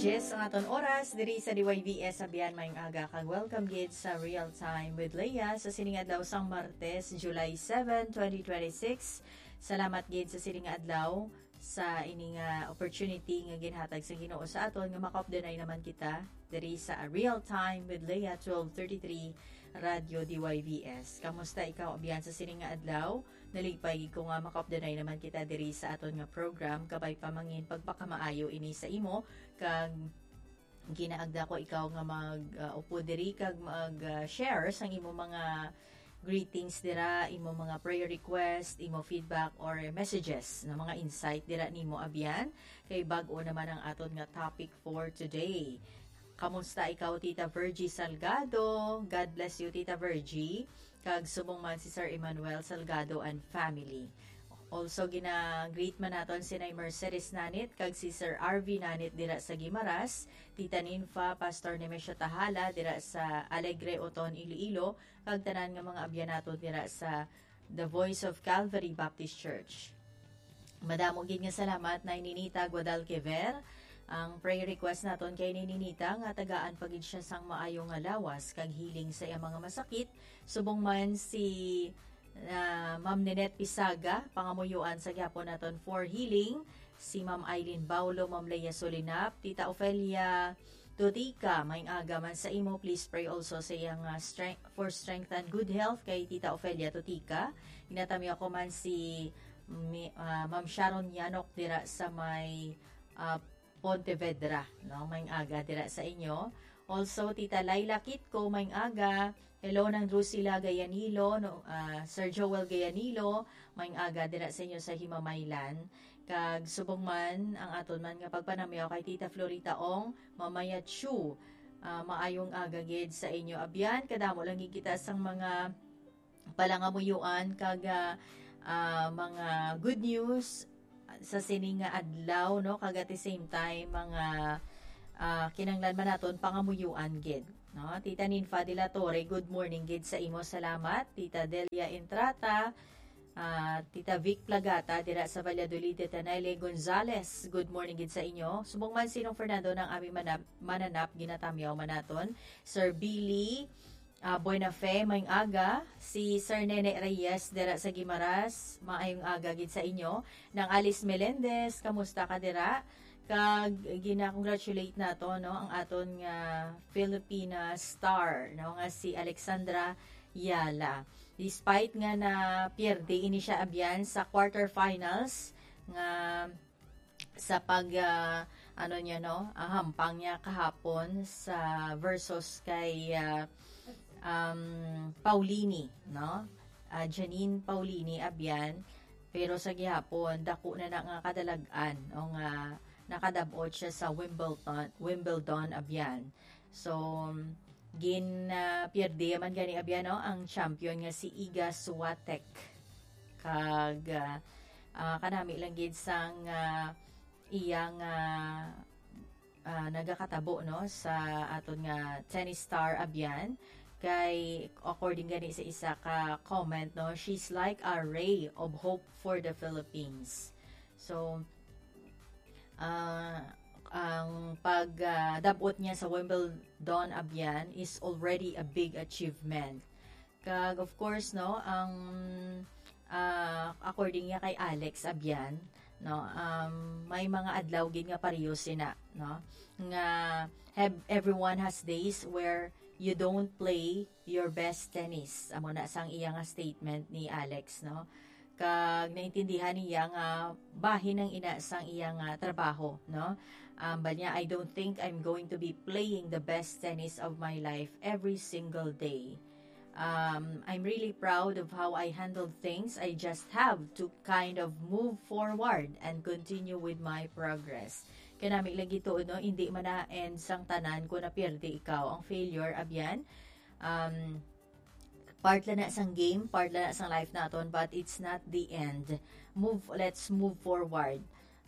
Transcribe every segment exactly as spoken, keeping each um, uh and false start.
Yes, ang aton oras diri sa D Y V S, abyan, maayong aga kag welcome gid sa Real Time with Leah sa sining adlaw sang Martes, July seven, twenty twenty-six. Salamat gid sa sining adlaw sa ini nga opportunity nga ginhatag sa Ginoo sa aton nga makaupdanay naman kita diri sa Real Time with Leah, twelve thirty-three Radyo D Y V S. Kamusta ikaw, abyan, sa sining nga adlaw? Nalipay gid ko nga makaupdanay naman kita diri sa aton nga program. Kabay pa mangin pagpakamaayo ini sa imo, kag ginaagda ko ikaw nga mag, ah, upo diri kag mag, ah, share sang imo mga greetings dira, imo mga prayer request, imo feedback or messages, na mga insight dira nimo, abyan. Kay bag-o naman ang aton nga topic for today. Kamusta ikaw, Tita Virgie Salgado? God bless you, Tita Virgie. Kag subong man si Sir Emmanuel Salgado and family. Also, gina-greet man naton si Nay Mercedes Nanit kag si Sir R V Nanit dira sa Guimaras, Tita Ninfa, Pastor Nemesio Tahala dira sa Alegre, Oton, Iloilo, kag tanan nga mga abyan naton dira sa The Voice of Calvary Baptist Church. Madamo gid nga salamat, Nay Ninita Guadalquivir. Ang prayer request naton kay Nay Ninita nga tagaan pa gid siya sang maayo nga lawas kag healing sa iyang mga masakit. Subong man si, ah, Ma'am Ninette Pisaga, pangamuyoan sa gihapon naton for healing. Si Ma'am Eileen Baulo, Ma'am Leia Solinap, Tita Ofelia Tutika, maayong aga man sa imo. Please pray also sa iyang, ah, strength, for strength and good health kay Tita Ofelia Tutika. Ginatamyaw ko man si Mi-, ah, Ma'am Sharon Yanok dira sa may, ah, Pontevedra, no? Maayong aga dira sa inyo. Also, Tita Laila Kitco, maayong aga. Hello, Nang Drusila Gayanilo, no? Ah, Sir Joel Gayanilo, maayong aga dira sa inyo sa Himamaylan. Kag subong man ang aton man nga pagpanamyaw kay Tita Florita Ong, Mamaya Chu. Ah, maayong aga gid sa inyo. Abyan, kadamo lang gid kita sang mga palangamuyoan kag, ah, ah, mga good news sa sini nga adlaw, no? Kag at the same time, mga, ah, kinahanglan man naton pangamuyoan gid, no? Tita Ninfa de la Torre, good morning gid sa imo. Salamat. Tita Delia Entrata, ah, Tita Vic Plagata dira sa Valladolid, Tita Nelly Gonzales, good morning gid sa inyo. Subong man si Nong Fernando nang aming manab-, mananap, ginatamyaw man naton. Sir Billy, ah, Buena Fe, maayong aga. Si Sir Nene Reyes dira sa Guimaras, maayong aga gid sa inyo. Nang Alice Melendez, kamusta ka dira? Kag gina-congratulate nato, no, ang aton nga Filipina star, no, nga si Alexandra Yala. Despite nga na pierde ini siya, abyan, sa quarterfinals nga sa pag, ah, ano niya, no, ah, hampang niya kahapon sa versus kay, ah, um, Paulini, no? Ah, Janine Paulini, abyan. Pero sa gihapon, dako na na nga kadalag-an, no, nga nakadab-ot siya sa Wimbledon, Wimbledon, abyan. So, gin, ah, pierde man gani, abyan, no, ang champion nga si Iga Swiatek. Kag, ah, ah, kanami lang gid sang, ah, iyang, ah, ah, nagakatabo, no, sa aton nga tennis star, abyan. Kay, according gani sa isa ka comment, no, "She's like a ray of hope for the Philippines." So, ah, ang pag, ah, dab-ot niya sa Wimbledon, abyan, is already a big achievement. Kag, of course, no, ang, ah, according niya kay Alex Abian, no, um, may mga adlaw gid nga pareho sina, no, nga have, everyone has days where you don't play your best tennis. Amo na sang iya nga statement ni Alex, no. Kag naintindihan niya nga bahin ang ina sang iya nga trabaho, no. Um, but niya, "I don't think I'm going to be playing the best tennis of my life every single day." Um, I'm really proud of how I handled things. I just have to kind of move forward and continue with my progress. Kanami lagi to, no? Hindi man na end sang tanan kung napierde ikaw. Ang failure, abyan, um, part lang na sang game, part lang na sang life naton, but it's not the end. Move, let's move forward.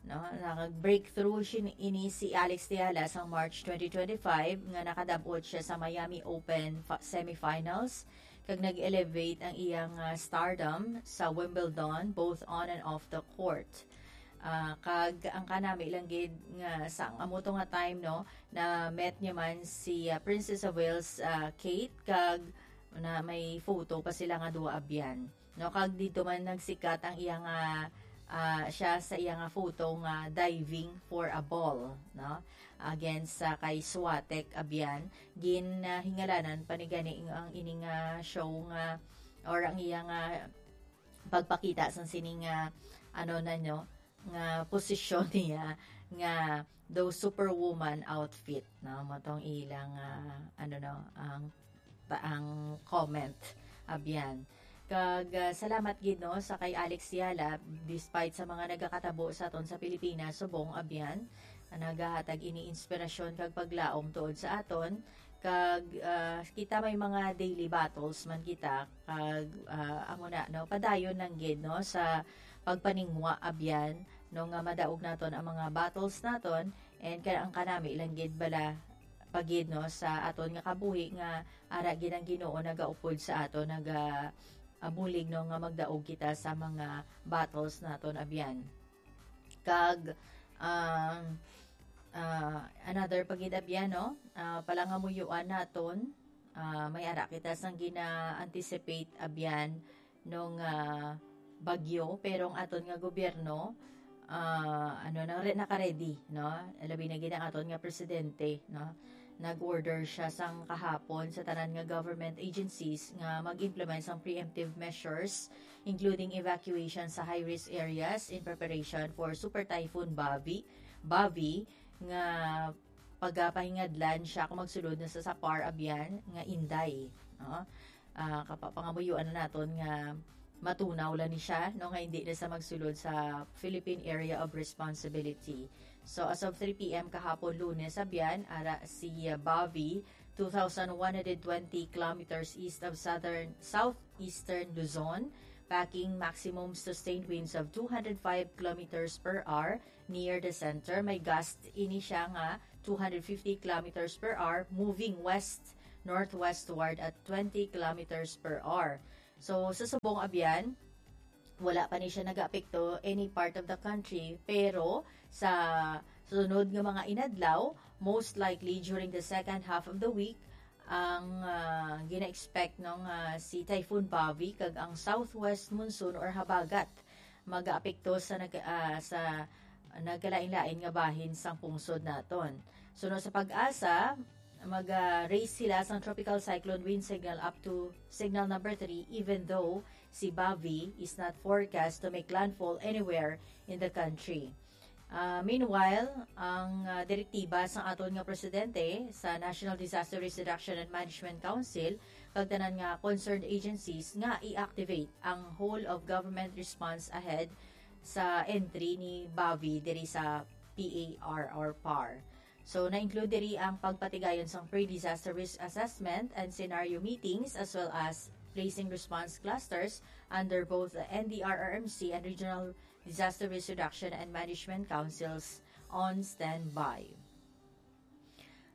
No, nag-breakthrough sin-, ini si Alex Tiala sa March twenty twenty-five nga nakadab-ot siya sa Miami Open fa-, semifinals, kag nag-elevate ang iyang, ah, stardom sa Wimbledon, both on and off the court. Ah, kag ang kanami lang gid nga sa ang amo to nga time, no, na met niya man si, ah, Princess of Wales, ah, Kate, kag na may photo pa sila nga duha abyan, no? Kag dito man nagsikat ang iya nga, ah, siya sa iya nga photo nga diving for a ball, no? Against sa kay Swatek abyan, gin, ah, hingalanan pa ni gani ang, ang ini nga show nga, or ang iya nga pagpakita sa sini nga, ano na, no, nga posisyon niya nga daw superwoman outfit, no? Mo tong ilang, ah, ano, no, ang, ang comment abyan. Kag, ah, salamat gid, no, sa kay Alex Yala, despite sa mga nagakatabo sa aton sa Pilipinas, subong abyan, nagahatag ini inspirasyon kag paglaom tuod sa aton. Kag, ah, kita may mga daily battles man kita, kag, ah, amo na, no, padayon lang gid, no, sa pagpaningwa abyan, no, nga madaog naton ang mga battles naton, and ka-, ang kanami lang gid bala pa gid, no, sa aton nga kabuhi nga ara gid ang Ginoo nagaupod sa aton, naga-, ah, bulig, no, nga magdaog kita sa mga battles naton abyan. Kag, um, ah, another pa gid abyan, no? Ah, palangamuyuan naton, ah, may ara kita sang gina-anticipate abyan nung, ah, bagyo, pero ang aton nga gobyerno, ah, ano, na, naka-ready, no? Labi na gid ang aton nga presidente, no? Nag-order siya sang kahapon sa tanan nga government agencies nga mag-implement sang preemptive measures, including evacuation sa high-risk areas in preparation for Super Typhoon Bavi, Bavi, nga pagapahingadlan siya kung magsulod na sa Sapar Abyan nga Inday, no? Ah, kapa-, pangamuyuan na naton nga matunaw lang ni siya, no, nga hindi na sa magsulod sa Philippine Area of Responsibility. So, as of three p m kahapon, Lunes, abyan, ara si, uh, Bavi, two thousand one hundred twenty kilometers east of southern, southeastern Luzon, packing maximum sustained winds of two hundred five kilometers per hour near the center. May gust ini siya nga two hundred fifty kilometers per hour, moving west-northwestward at twenty kilometers per hour. So, sa subong abyan, wala pa ni siya nagaapekto any part of the country, pero sa sunod nga mga inadlaw, most likely during the second half of the week, ang, ah, gina-expect, no, nga si Typhoon Bavi kag ang southwest monsoon or habagat magaapekto sa nag-, ah, sa nagkalain-lain nga bahin sang pungsod naton. Suno sa PAGASA, mag, ah, raise sila sang tropical cyclone wind signal up to signal number three, even though si Bavi is not forecast to make landfall anywhere in the country. Ah, meanwhile, ang, ah, direktiba sang aton nga presidente sa National Disaster Risk Reduction and Management Council kag tanan nga concerned agencies nga i-activate ang whole of government response ahead sa entry ni Bavi diri sa P A R or PAR. So, na-include diri ang pagpatigayon sang pre-disaster risk assessment and scenario meetings, as well as placing response clusters under both the N D R R M C and Regional Disaster Risk Reduction and Management Councils on standby.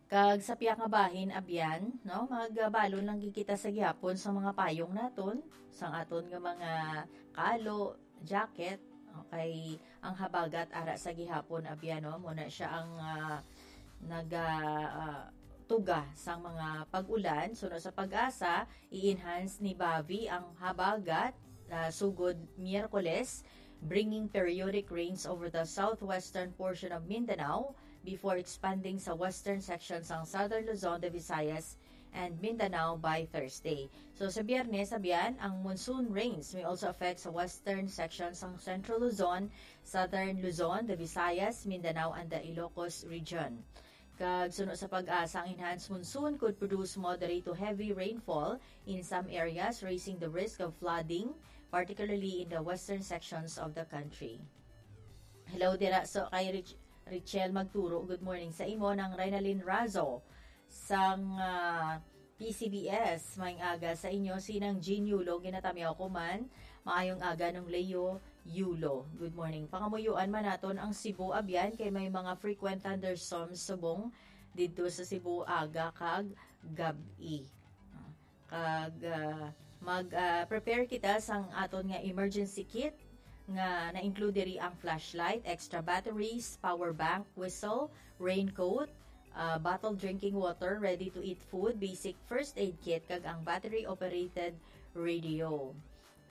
Kag sa pihak nga bahin, abyan, no, magbalon lang gid kita sa gihapon sa mga payong naton, sang aton nga mga kalo, jacket, okay, ang habagat ara sa gihapon, abyan, no, muna siya ang, ah, naga, ah, tuga sang mga pag-ulan. Suno sa PAGASA, i-enhance ni Bavi ang habagat, ah, sugod Miyerkules, bringing periodic rains over the southwestern portion of Mindanao before expanding sa western section sang Southern Luzon, the Visayas, and Mindanao by Thursday. So, sa Biyernes, abyan, ang monsoon rains may also affect sa western section sang Central Luzon, Southern Luzon, the Visayas, Mindanao, and the Ilocos region. Kag suno sa PAGASA, ang enhanced monsoon could produce moderate to heavy rainfall in some areas, raising the risk of flooding, particularly in the western sections of the country. Hello dira so kay Rich-, Richelle Magturo. Good morning sa imo, nang Renalyn Razo sang, ah, P C B S. Maayong aga sa inyo, si Nang Jean Yulo, ginatamyaw ko man. Maayong aga, Nung Leo Yulo. Good morning. Pangamuyuan man naton ang Cebu, abyan, kay may mga frequent thunderstorms subong didto sa Cebu, aga kag gab-i. Ah, kag, ah, mag, ah, prepare kita sang aton nga emergency kit, nga na-include diri ang flashlight, extra batteries, power bank, whistle, raincoat, ah, bottled drinking water, ready-to-eat food, basic first aid kit, kag ang battery-operated radio.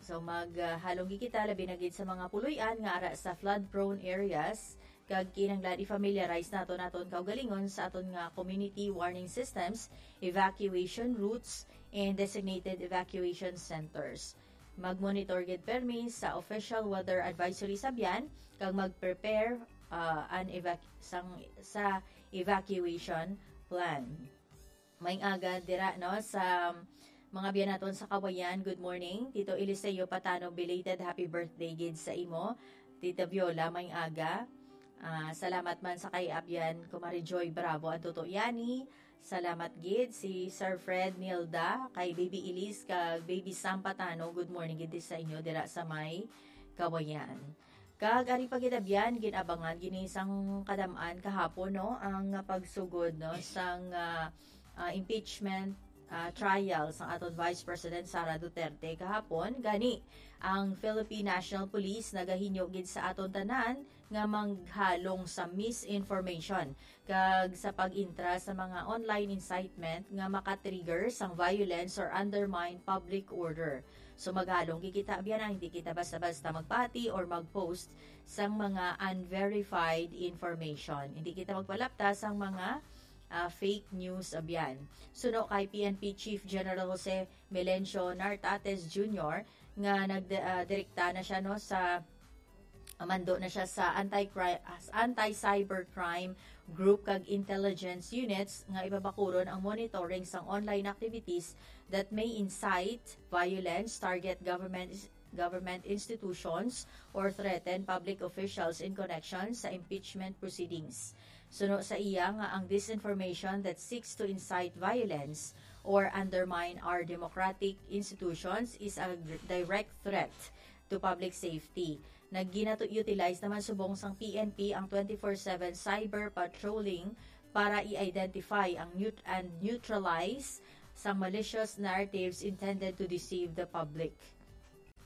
So, mag, ah, halong gid kita, labi na gid sa mga puloy-an nga ara sa flood-prone areas, kag kinahanglan i-familiarize nato naton kaugalingon sa aton nga community warning systems, evacuation routes, and designated evacuation centers. Mag-monitor gid permi sa official weather advisory sa Abyan, kag mag-prepare, ah, an evac-, sang, sa evacuation plan. Maayong aga dira, no, sa mga Abyan naton sa Kawayan. Good morning. Tito Eliseo Patano, belated happy birthday gid sa imo. Tita Viola, maayong aga. Ah, salamat man sa kay Abyan, Kumari Joy Bravo, ang Toto Yani. Salamat gid si Sir Fred, Nilda, kay Baby Elise, kag Baby Sam Patano. Good morning gid sa inyo dira sa may Kawayan. Kag ari pa gid, Abyan, gin-abangan gini sang kadam-an kahapon, no, ang pagsugod, no, sang, ah, ah, impeachment, ah, trial sang aton Vice President Sara Duterte kahapon. Gani, ang Philippine National Police nagahinyo gid sa aton tanan nga maghalong sa misinformation kag sa pag-intra sa mga online incitement nga maka-trigger sang violence or undermine public order. So, maghalong gid kita, Abyan, ah, hindi kita basta-basta magpati or mag-post sang mga unverified information. Hindi kita magpalapta sang mga, ah, fake news, Abyan. Suno kay P N P Chief General Jose Melencio Nartates Junior nga nag, ah, direkta na siya, no, sa, mando na siya sa anti-cri-, ah, anti-cybercrime group kag intelligence units nga ibabakuron ang monitoring sang online activities that may incite violence, target government, government institutions, or threaten public officials in connection sa impeachment proceedings. Suno sa iya nga ang disinformation that seeks to incite violence or undermine our democratic institutions is a direct threat to public safety. Nag-utilize naman subong sang P N P ang twenty-four seven cyber patrolling para i-identify ang neut-, and neutralize sang malicious narratives intended to deceive the public.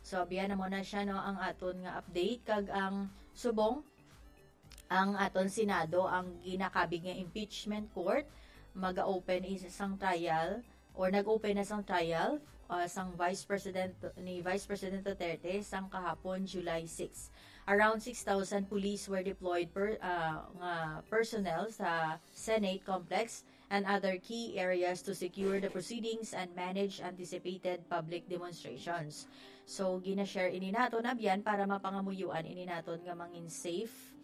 So, Abyan, amo na siya, no, ang aton nga update, kag ang subong, ang aton Senado, ang ginakabig nga impeachment court, maga-open is sang trial or nag-open na sang trial, ah, sang Vice President, ni Vice President Duterte sang kahapon, July six. Around six thousand police were deployed per, ah, nga personnel sa Senate complex and other key areas to secure the proceedings and manage anticipated public demonstrations. So, gina-share ini naton, Abyan, para mapangamuyuan ini naton nga mangin safe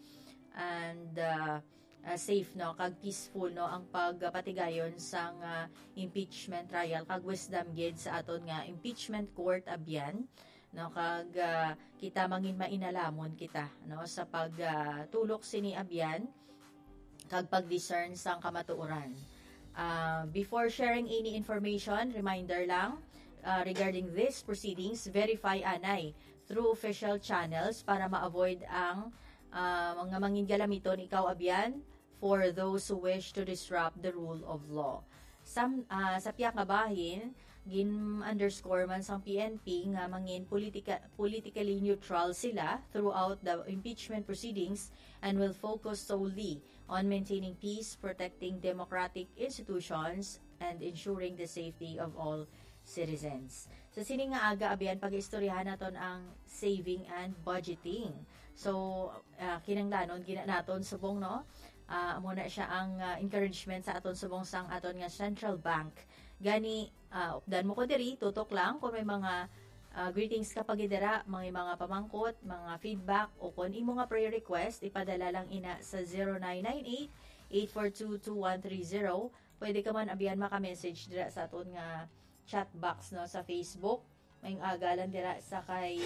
and, ah, ah, safe, no, kag peaceful, no, ang pagpatigayon sang, ah, impeachment trial, kag wisdom gid sa aton nga impeachment court, Abyan, no, kag, ah, kita mangin mainalamon kita, no, sa pag, ah, tulok sini, Abyan, kag pag-discern sang kamatuoran. Ah, before sharing any information, reminder lang, ah, regarding these proceedings, verify anay through official channels para ma-avoid ang, ah, mga mangin galamiton ikaw, Abyan, for those who wish to disrupt the rule of law. Sam-, ah, sa pihak nga bahin, gin-underscore man sang P N P nga mangin politika-, politically neutral sila throughout the impeachment proceedings and will focus solely on maintaining peace, protecting democratic institutions, and ensuring the safety of all citizens. Sa sini nga aga, Abyan, pag-istoryahan naton ang saving and budgeting. So, ah, kinahanglanon gina naton subong, no? Ah, amo na siya ang, ah, encouragement sa aton subong sang aton nga central bank. Gani, ah, updan mo ko diri, tutok lang kung may mga, ah, greetings ka pa gid dira, may mga pamangkot, mga feedback, o kung imo nga prayer request, ipadala lang ina sa zero nine nine eight, eight four two, two one three zero. Pwede ka man, Abyan, maka-message dira sa aton nga chat box, no, sa Facebook. Maayong aga lang dira sa kay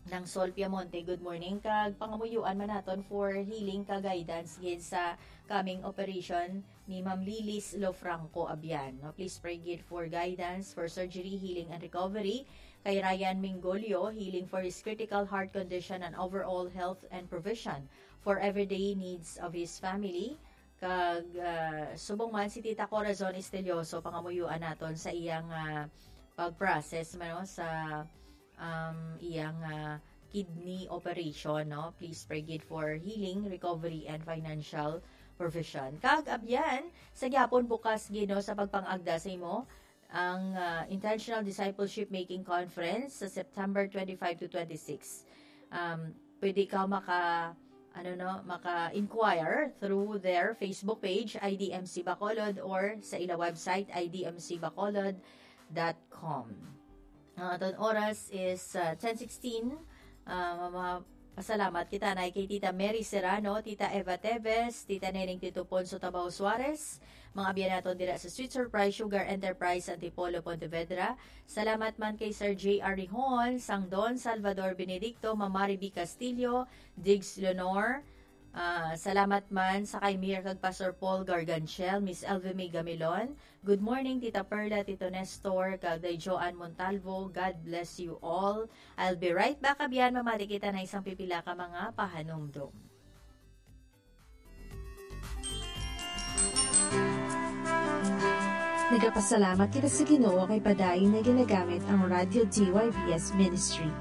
Nang Sol Piamonte. Good morning. Kag pangamuyuan man naton for healing ka guidance gid sa coming operation ni Ma'am Lilis Lofranco, Abyan, no? Please pray gid for guidance for surgery, healing, and recovery. Kay Ryan Mingolio, healing for his critical heart condition and overall health and provision for everyday needs of his family. Kag, ah, subong man si Tita Corazon Estelioso, pangamuyuan naton sa iyang, ah, pag-process man, no, sa, um, iyang, ah, kidney operation, no? Please pray gid for healing, recovery, and financial provision. Kag abyan, sa gyapon bukas gid, no, sa pagpangagda sa imo, ang, ah, Intentional Discipleship Making Conference sa September twenty-five to twenty-six. Um, pwede ka maka, ano, no, maka-inquire through their Facebook page, I D M C Bacolod, or sa ila website, I D M C bacolod dot com. Ang aton oras is, ah, ten sixteen. Ah, mama-, pasalamat kita na kay Tita Mary Serrano, Tita Eva Teves, Tita Neneng Tito Ponso Tabaw Suarez, mga abyan naton dira sa Sweet Surprise Sugar Enterprise, Antipolo, Pontevedra. Salamat man kay Sir J R Rihon, Sang Don Salvador Benedicto, Ma'am Mariby Castillo, Diggs Leonor. Ah, salamat man sa kay Mayor kag Pastor Paul Garganchel, Miss Elvie May Gamilon. Good morning, Tita Perla, Tito Nestor, kag Day Joan Montalvo. God bless you all. I'll be right back, abyan, mamati kita na isang pipila ka mga pahanumdom. Nagapasalamat kita sa Ginoo kay padayon nga ginagamit ang Radyo D Y B S Ministry.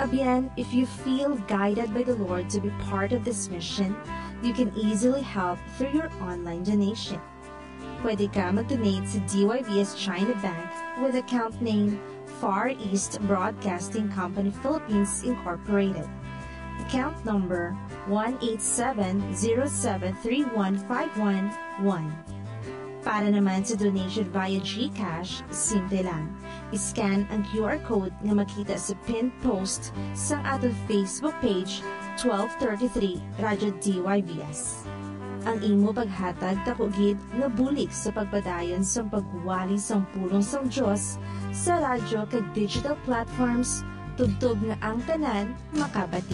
Abyan, if you feel guided by the Lord to be part of this mission, you can easily help through your online donation. Pwede ka mag-donate sa D Y B S China Bank with account name Far East Broadcasting Company Philippines Incorporated. Account number one eight seven zero seven three one five one one. Para naman sa donation via GCash, simple lang. I-scan ang Q R code nga makita sa pinned post sang aton Facebook page, twelve thirty-three Radyo D Y B S. Ang imo paghatag tako gid nga bulig sa pagpadayon sang pagwali sang pulong sang Dios sa radyo kag digital platforms, tubtob nga ang tanan makabati.